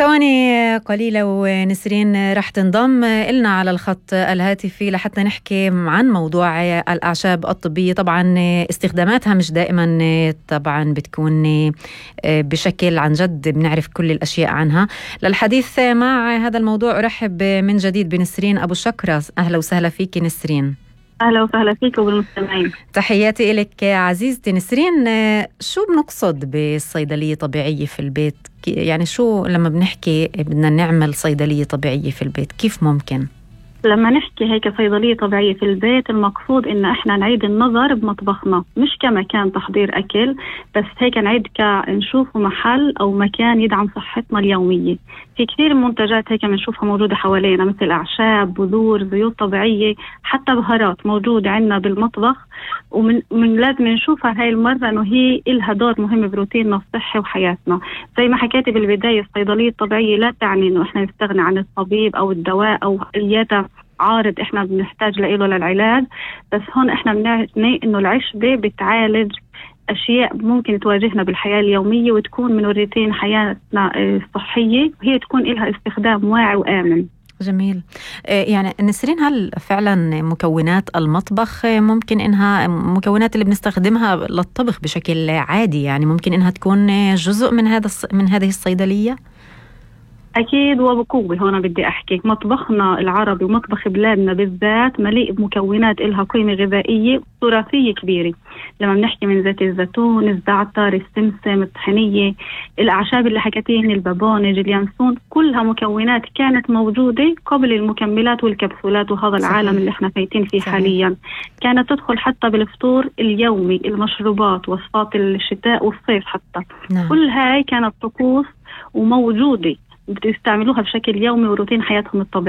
ثواني قليلة ونسرين رح تنضم إلنا على الخط الهاتفي لحتى نحكي عن موضوع الأعشاب الطبية. طبعا استخداماتها مش دائما طبعا بتكون بشكل عن جد بنعرف كل الأشياء عنها. للحديث مع هذا الموضوع أرحب من جديد بنسرين أبو شكرة. أهلا وسهلا فيك نسرين. أهلا وسهلا فيك وبالمستمعين. تحياتي إلك عزيزتي نسرين. شو بنقصد بالصيدلية طبيعية في البيت؟ يعني شو لما بنحكي بدنا نعمل صيدلية طبيعية في البيت كيف ممكن؟ لما نحكي هيك صيدلية طبيعية في البيت المقصود إن إحنا نعيد النظر بمطبخنا، مش كمكان تحضير أكل بس، هيك نعيد نشوفه محل أو مكان يدعم صحتنا اليومية. في كثير منتجات هيك بنشوفها موجودة حوالينا مثل أعشاب، بذور، زيوت طبيعية، حتى بهارات موجودة عندنا بالمطبخ، ومن لازم نشوفها هاي المرة إنه هي إلها دور مهم بروتيننا الصحي وحياتنا. زي ما حكيتي بالبداية الصيدلية الطبيعية لا تعني إنه إحنا نستغني عن الطبيب أو الدواء أو أي عارض إحنا بنحتاج له للعلاج، بس هون إحنا بنعني إنه العشبة بتعالج أشياء ممكن تواجهنا بالحياة اليومية وتكون من روتين حياتنا الصحية، وهي تكون إلها استخدام واعي وآمن. جميل. يعني نسرين، هل فعلا مكونات المطبخ ممكن إنها مكونات اللي بنستخدمها للطبخ بشكل عادي يعني ممكن إنها تكون جزء من هذه الصيدلية؟ أكيد وبقوة. هنا بدي أحكي مطبخنا العربي ومطبخ بلادنا بالذات مليء بمكونات إلها قيمة غذائية وتراثية كبيرة. لما بنحكي من زيت الزيتون، الزعتر، السمسم، الطحينية، الأعشاب اللي حكيتين، البابونج، اليانسون، كلها مكونات كانت موجودة قبل المكملات والكبسولات وهذا العالم اللي احنا فايتين فيه حاليا. كانت تدخل حتى بالفطور اليومي، المشروبات، وصفات الشتاء والصيف حتى. كل هاي كانت طقوس وموجودة بتستعملوها بشكل يومي وروتين حياتهم الطبيعي.